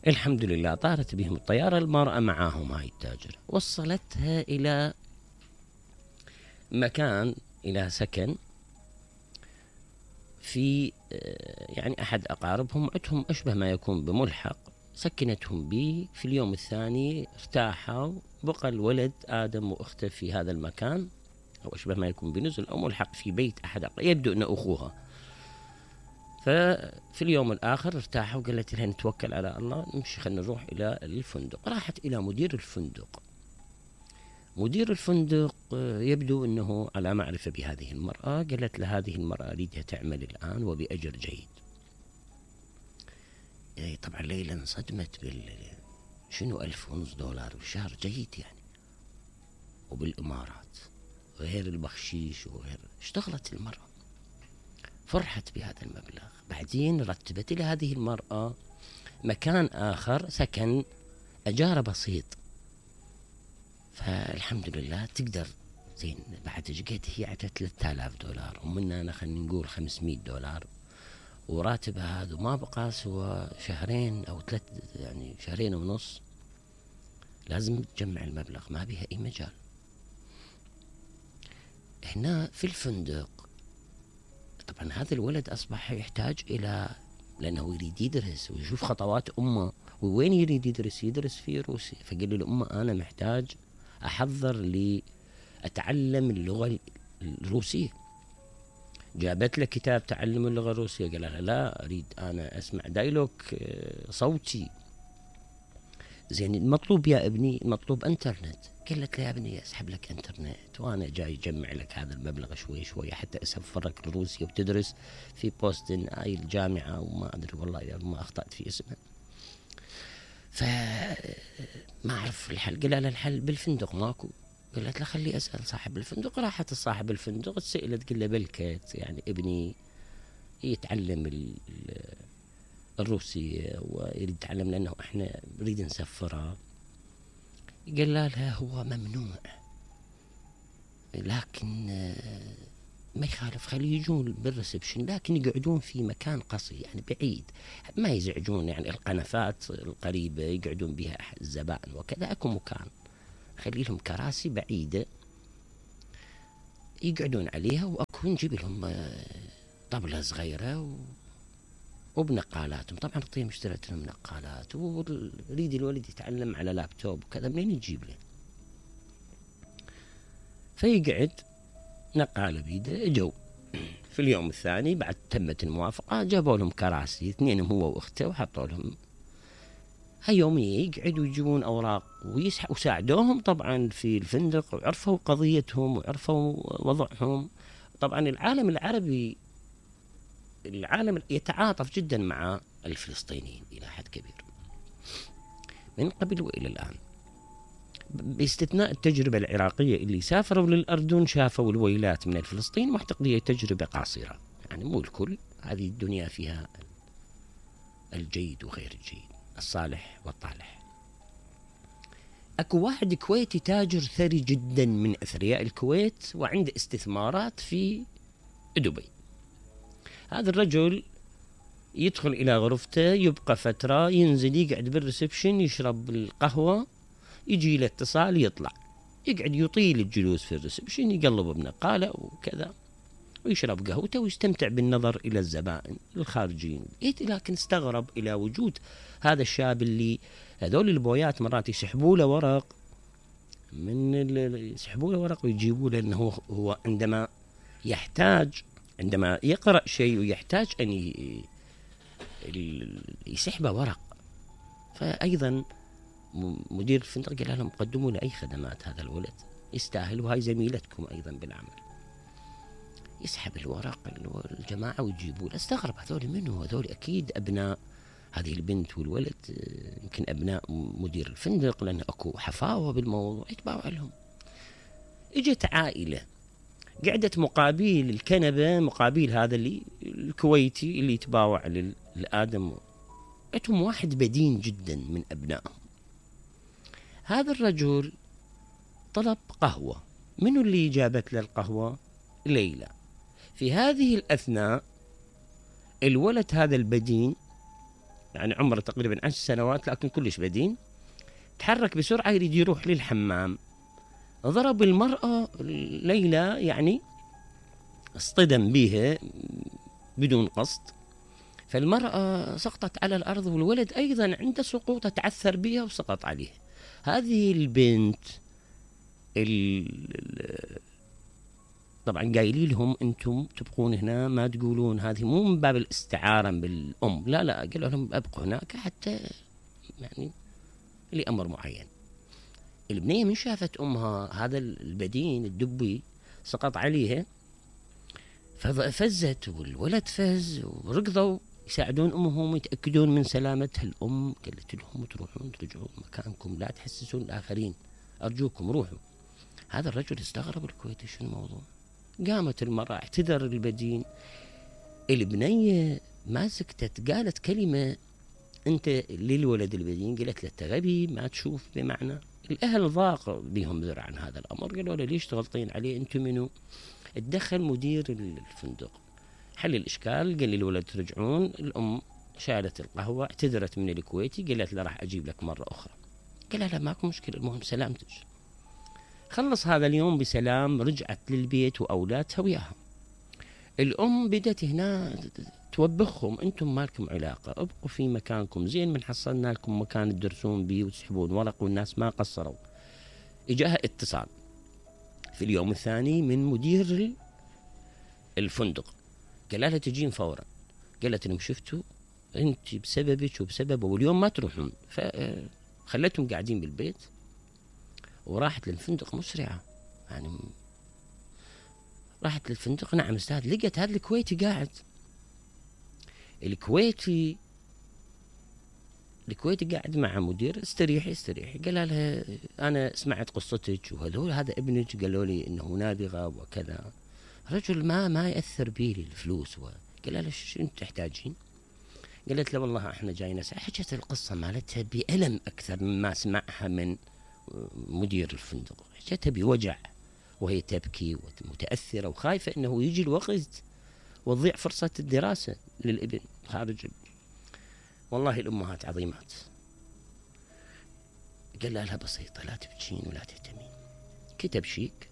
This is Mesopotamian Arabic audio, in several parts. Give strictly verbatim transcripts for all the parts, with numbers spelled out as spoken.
الحمد لله طارت بهم الطيارة، المرأة معاهم هاي التاجر، وصلتها إلى مكان، إلى سكن في يعني أحد أقاربهم، عندهم أشبه ما يكون بملحق، سكنتهم به. في اليوم الثاني ارتاحوا، بقى الولد آدم وأخته في هذا المكان، أو أشبه ما يكون بنزل أو ملحق في بيت أحد أقارب، يبدو أنه أخوها. ففي اليوم الآخر ارتاحوا، وقالت لها نتوكل على الله، نمشي خلينا نروح إلى الفندق. راحت إلى مدير الفندق. مدير الفندق يبدو أنه على معرفة بهذه المرأة، قالت له هذه المرأة أريدها تعمل الآن وبأجر جيد. يعني طبعا ليلى انصدمت بال شنو ألف ونص دولار بالشهر، جيد يعني، وبالإمارات، وغير البخشيش وغير. اشتغلت المرأة، فرحت بهذا المبلغ. بعدين رتبت لهذه المرأة مكان آخر، سكن أجار بسيط. فالحمد لله تقدر زين. بعد جيت هي على ثلاثة آلاف دولار، ومنا أنا خلينا نقول خمسمية دولار، وراتبها هذا ما بقى سوى شهرين أو ثلاث، يعني شهرين ونص. لازم تجمع المبلغ، ما بها أي مجال. هنا في الفندق طبعا هذا الولد أصبح يحتاج إلى، لأنه يريد يدرس ويشوف خطوات أمه. ووين يريد يدرس؟ يدرس في روسيا. فقال له أمه أنا محتاج أحضر لي أتعلم اللغة الروسية. جابت له كتاب تعلم اللغة الروسية، قال لها لا أريد أنا أسمع دايلوج صوتي. زين المطلوب يا ابني، المطلوب انترنت. قالت له يا ابني اسحب لك انترنت، وانا جاي اجمع لك هذا المبلغ شوي شوي حتى اسفرك لروسيا وتدرس في بوستن، هاي الجامعة وما ادري والله اذا ما اخطأت في اسمها. فما اعرف الحل. قال لها الحل بالفندق ماكو. قالت له خلي اسال صاحب الفندق. راحت صاحب الفندق سئلت، قال له بلكت يعني ابني يتعلم الروسية ويريد يتعلم لأنه إحنا نريد نسفره. قال لها هو ممنوع، لكن ما يخالف خلي يجون بالريسبشن، لكن يقعدون في مكان قصي يعني بعيد، ما يزعجون يعني القنفات القريبة يقعدون بها الزبائن وكذا. أكو مكان خلي لهم كراسي بعيدة يقعدون عليها، وأكو نجيب لهم طبلة صغيرة و وبنقالاتهم. طبعا الطيب اشترت لهم نقالات، وريد الولد يتعلم على لابتوب وكذا، منين يجيب له؟ فيقعد نقالة بيده. اجوا في اليوم الثاني بعد تمت الموافقة، جابوا لهم كراسي اثنينهم هو واخته وحطوا لهم. هاليومية يقعدوا يجيبون أوراق ويسحبوا، وساعدوهم طبعا في الفندق، وعرفوا قضيتهم وعرفوا وضعهم. طبعا العالم العربي، العالم يتعاطف جدا مع الفلسطينيين إلى حد كبير من قبل وإلى الآن، باستثناء التجربة العراقية اللي سافروا للأردن شافوا الويلات من الفلسطين، واعتقد تجربة قاصرة يعني مو الكل. هذه الدنيا فيها الجيد وغير الجيد، الصالح والطالح. أكو واحد كويتي تاجر ثري جدا من أثرياء الكويت، وعنده استثمارات في دبي. هذا الرجل يدخل إلى غرفته، يبقى فترة، ينزل يقعد بالريسبشن يشرب القهوة، يجي له اتصال يطلع، يقعد يطيل الجلوس في الريسبشن، يقلب بنقالة وكذا، ويشرب قهوته ويستمتع بالنظر إلى الزبائن الخارجين. لكن استغرب إلى وجود هذا الشاب اللي هذول البويات مرات يسحبوا له ورق من يسحبوا له ورق ويجيبوا له أنه هو عندما يحتاج، عندما يقرأ شيء ويحتاج أن يسحب ورق. فأيضا مدير الفندق قال لهم قدموا له أي خدمات، هذا الولد يستاهل، وهاي زميلتكم أيضا بالعمل. يسحب الورق الجماعة ويجيبوا له. استغرب هذول منه، هذول أكيد أبناء هذه البنت والولد، يمكن أبناء مدير الفندق، لأن أكو حفاوة بالموضوع يتباوع لهم. اجت عائلة قعدت مقابل الكنبة، مقابل هذا اللي الكويتي اللي يتباوع للآدم. اتهم واحد بدين جدا من أبنائهم. هذا الرجل طلب قهوة. منو اللي جابت له القهوة؟ ليلى. في هذه الأثناء الولد هذا البدين يعني عمره تقريبا عشر سنوات لكن كلش بدين. تحرك بسرعة يريد يروح للحمام، ضرب المرأة ليلى، يعني اصطدم بها بدون قصد، فالمرأة سقطت على الأرض والولد أيضا عند سقوطه تعثر بها وسقط عليه. هذه البنت طبعا قايلين لهم أنتم تبقون هنا ما تقولون، هذه مو من باب الاستعارة بالأم، لا لا، قالوا لهم أبقوا هناك حتى يعني لأمر معين. البنية من شافت أمها هذا البدين الدبي سقط عليها ففزت والولد فز وركضوا يساعدون أمهم يتأكدون من سلامتها. الأم قالت لهم تروحون ترجعون مكانكم، لا تحسسون الآخرين، أرجوكم روحوا. هذا الرجل استغرب الكويتي شو الموضوع. قامت المرأة اعتذر البدين، البنية ما سكتت، قالت كلمة أنت للولد البدين، قالت له أنت غبي ما تشوف بمعنى. الأهل ضاق بهم ذرعا هذا الأمر، قالوا له ليش تغلطين عليه أنتم منو؟ اتدخل مدير الفندق حل الإشكال، قال للولد ترجعون. الأم شالت القهوة اعتذرت من الكويتي، قالت له راح أجيب لك مرة أخرى. قال لا ماكو مشكلة المهم سلامتك. خلص هذا اليوم بسلام، رجعت للبيت وأولادها وياها. الأم بدت هنا توبخهم أنتم مالكم علاقة، ابقوا في مكانكم، زين من حصلنا لكم مكان تدرسون بيه وتسحبون ورق والناس ما قصروا. إجاها اتصال في اليوم الثاني من مدير الفندق، قال لها تجين فورا. قالت لهم شفتوا انت بسببك وبسببه واليوم ما تروحون، فخلتهم قاعدين بالبيت وراحت للفندق مسرعة. يعني راحت للفندق، نعم استاذ، لقت هذا الكويتي قاعد. الكويتي الكويتي قاعد مع مدير، استريحي استريحي. قال لها انا سمعت قصتك وهذول هذا ابنك قالوا لي انه نابغه وكذا. رجل ما ما ياثر بي الفلوس. قال لها شو انت تحتاجين؟ قالت له والله احنا جايين نسأل. حكت القصه مالتها بألم اكثر مما سمعها من مدير الفندق، حكتها بوجع وهي تبكي ومتاثره وخايفه انه يجي الوقت وتضيع فرصه الدراسه للابن خارج. والله الأمهات عظيمات. قال لها بسيطة، لا تبكين ولا تهتمين. كتب شيك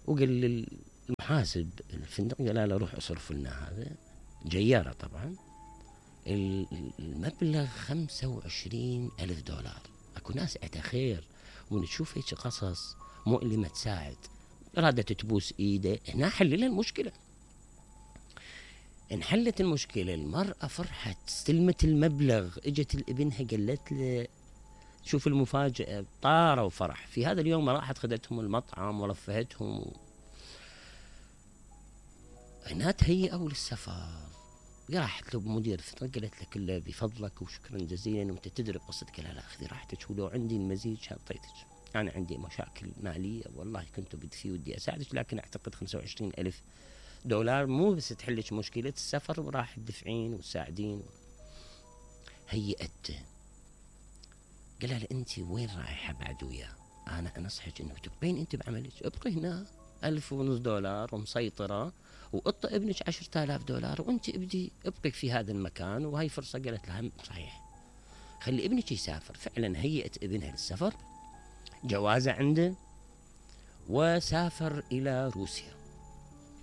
وقال للمحاسب الفندق، قال له روح اصرف لنا هذا جيارة طبعا، المبلغ خمسة وعشرين ألف دولار. أكو ناس عندها خير ونشوف هيك قصص مؤلمة تساعد، رادت تبوس إيده. هنا حللها المشكلة، انحلت المشكلة. المرأة فرحت، استلمت المبلغ، اجت لابنها قالت له شوف المفاجأة، طاروا وفرح. في هذا اليوم راحت خدتهم المطعم ورفهتهم. هنا تهيئوا للسفر. راحت له بمدير الفندق قالت له كله بفضلك وشكرا جزيلا وانت تدري قصتك. لا لا خذي راحتك، ولو عندي المزيد شاطيتك، انا عندي مشاكل مالية والله كنت بدي في ودي اساعدك، لكن اعتقد خمسة وعشرين ألف دولار مو بس تحلش مشكلة السفر وراح تدفعين وتساعدين. هيئته. قال لها انت وين رايحة بعد وياه؟ انا انصحك انه تبقين انت بعملك، ابقي هنا ألف ونص دولار ومسيطرة، وقط ابنك عشرة آلاف دولار وانت ابدي ابقي في هذا المكان. وهي فرصة قالت لها صحيح خلي ابنك يسافر. فعلا هيئت ابنها للسفر، جوازة عنده وسافر الى روسيا.